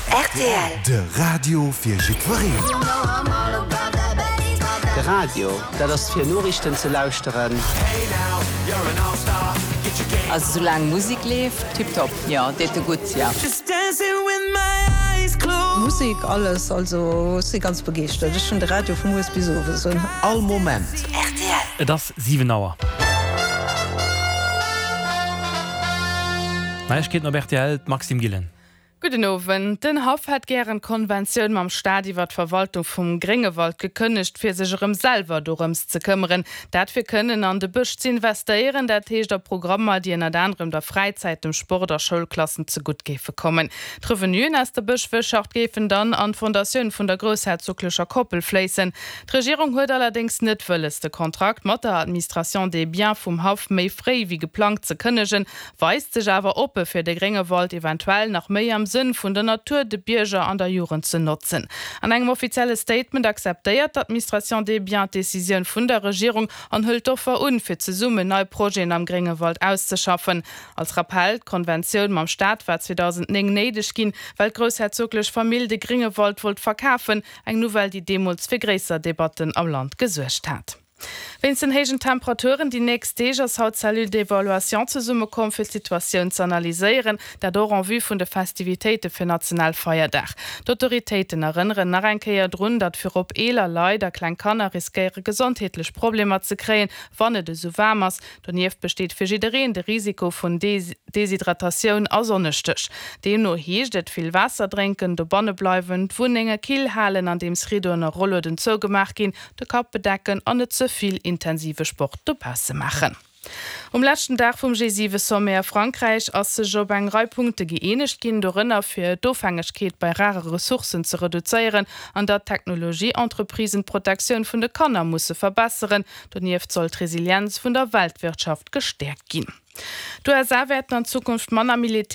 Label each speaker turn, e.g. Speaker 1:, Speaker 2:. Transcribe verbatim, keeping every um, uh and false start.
Speaker 1: Rtl.
Speaker 2: De Radio fir jiddwereen.
Speaker 3: De Radio, dat ass fir Noriichten ze lauschteren.
Speaker 4: Also soulaang Musek leeft, tiptop, jo, deet e gutt, jo.
Speaker 5: Musek, alles, also ech si ganz begeeschtert. Ech hunn de Radio vu mueres bis owes un.
Speaker 2: All Moment.
Speaker 1: Rtl.
Speaker 6: Et ass siwen Auer. Neiegkeeten op rtl, d'Maxime Gillen.
Speaker 7: Gudden Owend. Den Haff hätt gären d'Konventioun mam Staat iwwer d'Verwaltung vum Gréngewald gekënnegt, fir sech erëm selwer dorëms ze këmmeren. Dat fir kënnen an de Bësch ze investéieren, dat heescht a Programmer, déi ënnert anerem der Fräizäit, dem Sport a Schoulklassen zegutt géife kommen. D'Revenuen aus der Bëschwirtschaft géifen dann an d'Fondatioun vun der groussherzoglecher Koppel fléissen. D'Regierung huet allerdéngs net wëlles, de Kontrakt mat der Administration des biens vum Haff méi fréi wéi geplangt ze kënnegen, weist sech awer oppe fir de Gréngewald eventuell nach méi am Sënn vun der Natur, de Bierger an der Jugend ze notzen. An engem offizielle Statement akzeptéiert d'Administration des biens d'Decisioun vun der Regierung an hëlt d'Offer un, fir zesummen nei Projeten am Gréngewald auszeschaffen. Als Rappell, D'Konventioun mam Staat war zweedausendnéng néideg ginn, well d'groussherzoglech Famill de Gréngewald wollt verkafen, eng Nouvelle, déi deemools fir gréisser Debatten am Land gesuergt hat. Wéinst den héijen Temperaturen déi nächst Deeg ass haut d'Cellule d'évaluation zesummekomm, fir d'Situatioun ze analyséieren, dat och en vue vun de Festivitéite fir Nationalfeierdag. D'Autoritéiten erënneren nach eng Kéier drun, datt virop eeler Leit a kleng Kanner riskéiere gesondheetlech Problemer ze kréien, wann et esou waarm ass. Donieft besteet fir jiddereen de Risiko vun Deshydratatioun a Sonnestéch. Deemno heescht et, vill Waasser drénken, dobanne bleiwen, d'Wunnenge kill halen, andeems Riddoen a Rollueden zougemaach ginn, de Kapp bedecken an net ze vill intensive Sport dobausse maachen. Um leschten Dag vum G siwe Sommet a Frankräich ass sech op eng Rei Punkte gëeenegt ginn, dorënner fir d'Ofhängegkeet bei rare Ressourcen ze reduzéieren an datt d'Technologieentreprisen d'Protektioun vun de Kanner musse verbesseren. Donieft soll d'Resilienz vun der Weltwirtschaft gestäerkt ginn. D'USA wäerten an Zukunft manner Militär.